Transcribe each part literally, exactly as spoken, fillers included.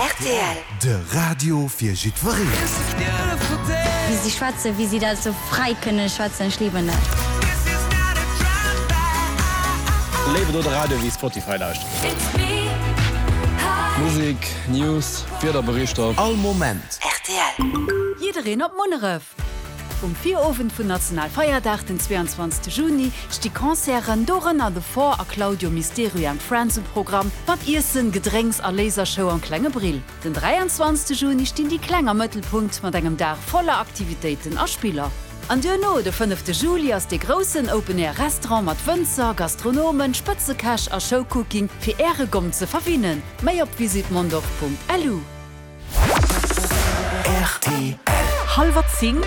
Rtl. De Radio fir jiddwereen. Wéi si schwätzen, wéi si dat sou fräi kënne schwätzen, ech liben dat. Léiwer do de Radio wéi Spotify lauschteren. Musek, News, Wiederberichter. All Moment. Rtl. Jiddereen op Munneref! Um Virowend vun Nationalfeierdag, den zweiundzwanzegste Juni, sti Concerten, dorënner The Four a Claudio Mysterio and Friends um Programm, mat Iessen, Gedrénks a Lasershow am Klenge Brill. Den dräianzwanzegste Juni stinn déi Kleng am Mëttelpunkt mat engem Dag voller Aktivitéiten a Spiller. An duerno, de fënnefte Juli, ass dee groussen Open Air Restaurant mat Wënzer, Gastronomen, Spëtzekäch a Showcooking fir Äre Gomm ze verwinnen. Méi op visitmondorf.lu. Rtl. Hallwer zéng.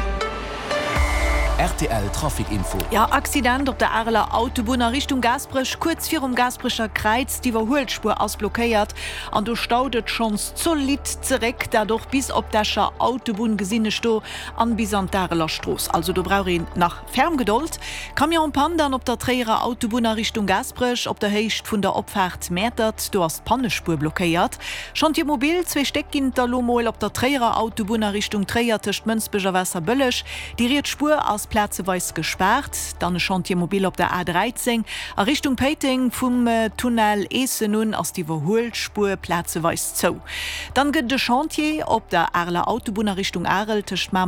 Rtl Trafic Info. Jo, Accident op der Areler Autobunn a Richtung Gaasperech, kuerz virum Gaasperecher Kräiz. D'Iwwerhuelspuer ass blockéiert an do staut et schonns zolidd zeréck. Dat och bis op d'Escher Autobunn gesinn ech do an bis an d'Areler Strooss. Also do brauch een nach ferm Gedold. Camion en panne dann op der Tréierer Autobunn a Richtung Gaasperech op der Héicht vun der Opfaart Mäertert. Do ass d'Pannespuer blockéiert. Chantier mobile, zwee Stéck ginn et der elo mol op der Tréierer Autobunn a Richtung Tréier tëscht Mënsbech a Waasserbëlleg. Déi riets Spuer ass plazeweis gespaart. Dann e Chantier mobile op der A dräizéng a Richtung Péiteng, vum Tunnel Eessen un ass d'Iwwerhuelspuer plazeweis zou. Dann gëtt et e Chantier op der Areler Autobunn a Richtung Arel tëscht Mamer